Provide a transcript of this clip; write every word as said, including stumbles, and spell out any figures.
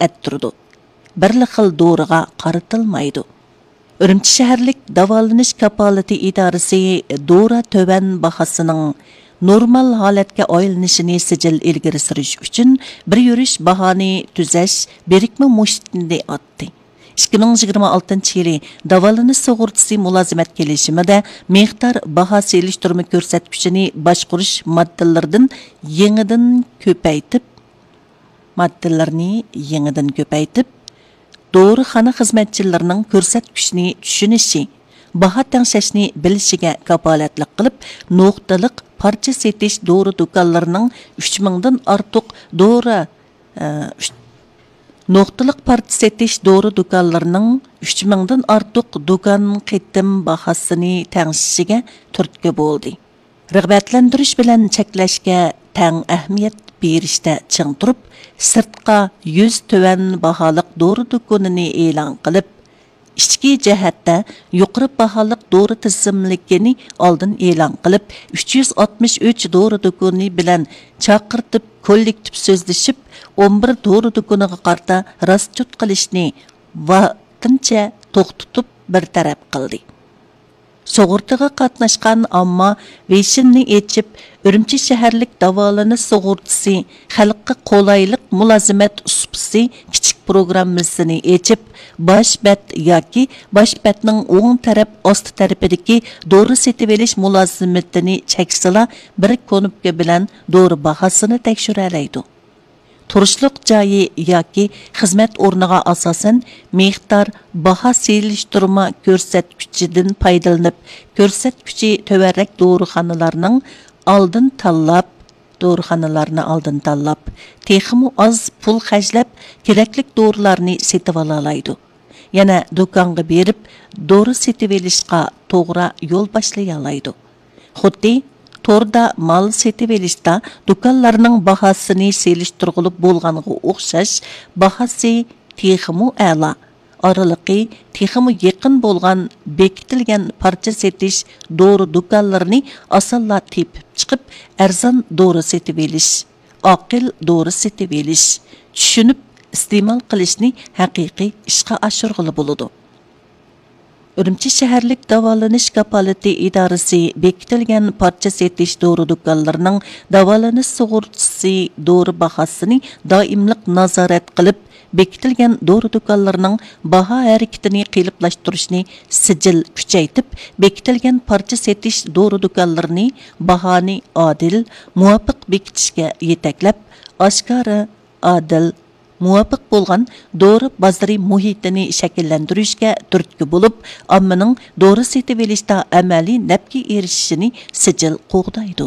ئەتتۈرىدۇ. بىرلا خىل دورىغا قارىتىلمايدۇ. ئۈرۈمچى شەھەرلىك داۋالىنىش كاپالىتى ئىدارىسى دورا تۆۋەن باھاسىنىڭ نورمال ھالەتكە ئايلىنىشىنى سىجىل ئىلگىرى سۈرۈش ئۈچۈن بىر يۈرۈش باھانى تۈزەش بىرىكمە مۇشتىنى ئاتتى. ئىككى مىڭ يىگىرمە ئالتىنچى يىلى داۋالىنىش سۇغۇرتىسى مۇلازىمەت كېلىشىمىدە مىقدار باھا سېلىشتۇرما كۆرسەتكۈچىنى باشقۇرۇش ماددىلىرىدىن يېڭىدىن كۆپەيتىپ، ماددىلىرىنى يېڭىدىن كۆپەيتىپ، دورىخانا خىزمەتچىلىرىنىڭ كۆرسەتكۈچنى چۈشىنىشى، باھا تەڭشەشنى بىلىشىگە كاپالەتلىك قىلىپ، نۇقتىلىق پارچە سېتىش دورا دۇكانلىرىنىڭ ئۈچ مىڭدىن ئارتۇق دورا، ئە، ئۈچ، نۇقتىلىق پارچە سېتىش دورا دۇكانلىرىنىڭ ئۈچ مىڭدىن ئارتۇق دۇكان قېتىم باھاسىنى تەڭشىشىگە تۈرتكە بولدى. رىغبەتلەندۈرۈش بىلەن چەكلەشكە تەڭ ئەھمىيەت بېرىشتە چىڭ تۇرۇپ، سىرتقا يۈز تۆۋەن باھالىق دورا دۇكىنىنى ئېلان قىلىپ، ئىچكى جەھەتتە يۇقىرى باھالىق دورا تىزىملىكىنى ئالدىن ئېلان قىلىپ، ئۈچ يۈز ئاتمىش ئۈچ دورا دۇكىنى بىلەن چاقىرتىپ كوللېكتىپ سۆزلىشىپ، ئون بىر دورا دۇكىنىغا قارىتا راسچوت قىلىشنى ۋاقتىنچە توختىتىپ بىر تەرەپ قىلدى. سۇغۇرتىغا قاتناشقان ئامما ۋېيشىننى ئېچىپ، ئۈرۈمچى شەھەرلىك داۋالىنىش سۇغۇرتىسى خەلققە قولايلىق مۇلازىمەت سۇپىسى كىچىك پروگراممىسىنى ئېچىپ، باش بەت ياكى باش بەتنىڭ ئوڭ تەرەپ ئاستى تەرىپىدىكى دورا سېتىۋېلىش مۇلازىمىتىنى چەكسىلا، بىر كۇنۇپكا بىلەن دورا باھاسىنى تەكشۈرەلەيدۇ. تۇرۇشلۇق جايى ياكى خىزمەت ئورنىغا ئاساسەن مىقدار باھا سېلىشتۇرما كۆرسەتكۈچىدىن پايدىلىنىپ، كۆرسەتكۈچى تۆۋەنرەك دورىخانىلارنىڭ ئالدىن تاللاپ، دورىخانىلارنى ئالدىن تاللاپ، تېخىمۇ ئاز پۇل خەجلەپ، كېرەكلىك دورىلارنى سېتىۋالالايدۇ. يەنە دۇكانغا بېرىپ، دورا سېتىۋېلىشقا توغرا يول باشلىيالايدۇ. خۇددى توردا مال سېتىۋېلىشتا دۇكانلارنىڭ باھاسىنى سېلىشتۇرغىلى بولغانغا ئوخشاش، باھاسى تېخىمۇ ئەلا، ئارىلىقى تېخىمۇ يېقىن بولغان بېكىتىلگەن پارچە سېتىش دورا دۇكانلىرىنى ئاسانلا تېپىپ چىقىپ، ئەرزان دورا سېتىۋېلىش، ئاقىل دورا سېتىۋېلىش، چۈشىنىپ ئىستېمال قىلىشنى ھەقىقىي ئىشقا ئاشۇرغىلى بولىدۇ. ئۈرۈمچى شەھەرلىك داۋالىنىش كاپالىتى ئىدارىسى بېكىتىلگەن پارچە سېتىش دورا دۇكانلىرىنىڭ داۋالىنىش سۇغۇرتىسى دورا باھاسىنى دائىملىق نازارەت قىلىپ، بېكىتىلگەن دورا دۇكانلىرىنىڭ باھا ھەرىكىتىنى قېلىپلاشتۇرۇشنى سىجىل كۈچەيتىپ، بېكىتىلگەن پارچە سېتىش دورا دۇكانلىرىنى باھانى ئادىل، مۇۋاپىق بېكىتىشكە يېتەكلەپ، ئاشكارا، ئادىل، مۇۋاپىق بولغان دورا بازىرى مۇھىتىنى شەكىللەندۈرۈشكە تۈرتكە بولۇپ، ئاممىنىڭ دورا سېتىۋېلىشتا ئەمەلىي نەپكە ئېرىشىشىنى سىجىل قوغدايدۇ.